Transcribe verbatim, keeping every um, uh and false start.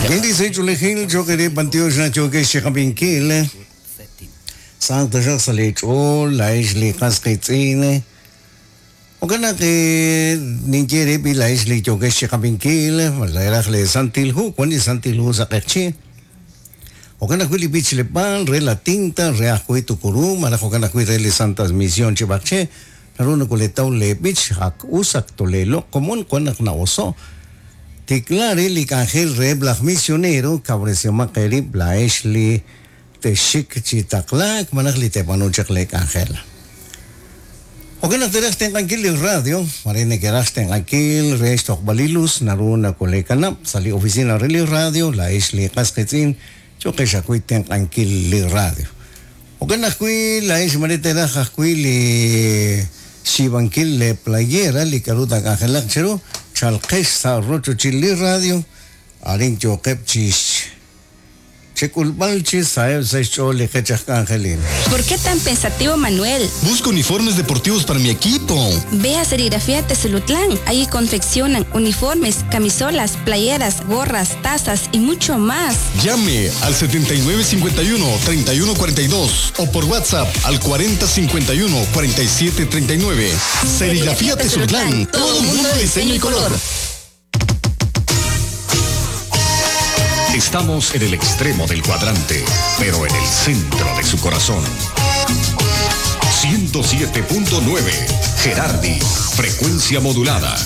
Hindi sa chulejil chokere pantiox na choke shikapinkil. Santo siya sa lechol, laish likas kitzine. O kana ke ninkere pi laish li choke shikapinkil, malairaj le santilhu, kwani santilhu sa kechi. O kana kui li bichlepan, re la tinta, re ajui tukuru, marajo kana kui re le santas misión chibache. Naruno kuletau le bich, hak usak tolelo, común kuanak na oso. Tiklare li kanjel re blaj misionero, cabrecio makeri, blaeshli teshik chitaklak, manaj li tepanuchak le kanjel. Oke na teraj tengankil li radio, marine keraj tengankil, re balilus, naruna kulekanap, sali oficina re li radio, la esli kasketzin, choque xakui tengankil li radio. Oke na kui la es mariteraj ajui li xibankil le playera, li karuta kanjelak cheru, chalqesh sa rocho chili radio, arin choqep chis. ¿Por qué tan pensativo, Manuel? Busco uniformes deportivos para mi equipo. Ve a Serigrafía Tezulutlán. Ahí confeccionan uniformes, camisolas, playeras, gorras, tazas y mucho más. Llame al setenta y nueve cincuenta y uno, treinta y uno cuarenta y dos o por WhatsApp al cuarenta cincuenta y uno, cuarenta y siete treinta y nueve. Serigrafía Tezulutlán. Todo mundo de diseño y color. Estamos en el extremo del cuadrante, pero en el centro de su corazón. ciento siete punto nueve, Gerardi, frecuencia modulada.